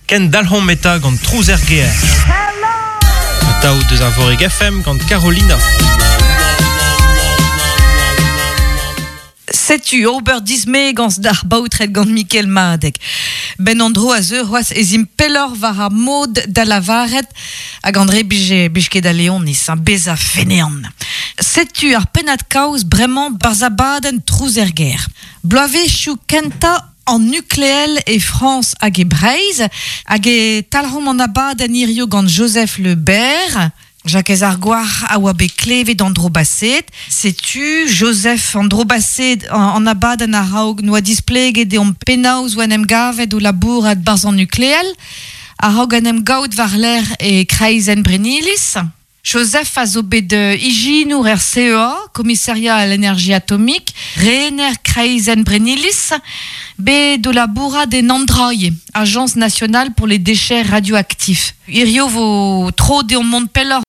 Kendalc'homp eta gant Trouz er gêr. Atav deus Arvorig FM gant Carolina. Setu ober dismegañs d'ar baotred gant Mikel Madeg. Ben an dro a zeu c'hoazh ez imp pelloc'h war ar mod da lavaret hag André bije bij ket da Leonis, hein, bezañ feneant. Setu ar pennad-kaoz bremañ barzh abadenn Trouz er gêr. Bloavezhioù kentañ an nukleel e Frañs hag e Breizh hag e talc'homp an abadenn hirio gant Joseph Le Berre. Jakez Argouarc'h a oa bet klevet an dro baset. Setu Joseph an dro baset an abadenn a-raok 'noa displeget deomp penaos 'oa en em gavet o labourat 'barzh an nukleel a-raok en em gaout war-lerc'h e kreizenn Brenniliz. Joseph a zo bet ijinour er CEA, Commissariat à l'énergie atomique, rener kreizenn Brenniliz, bet o labourat en Andrailh, Agence nationale pour les déchets radioactifs. Hirio 'vo tro deomp mont pelloc'h.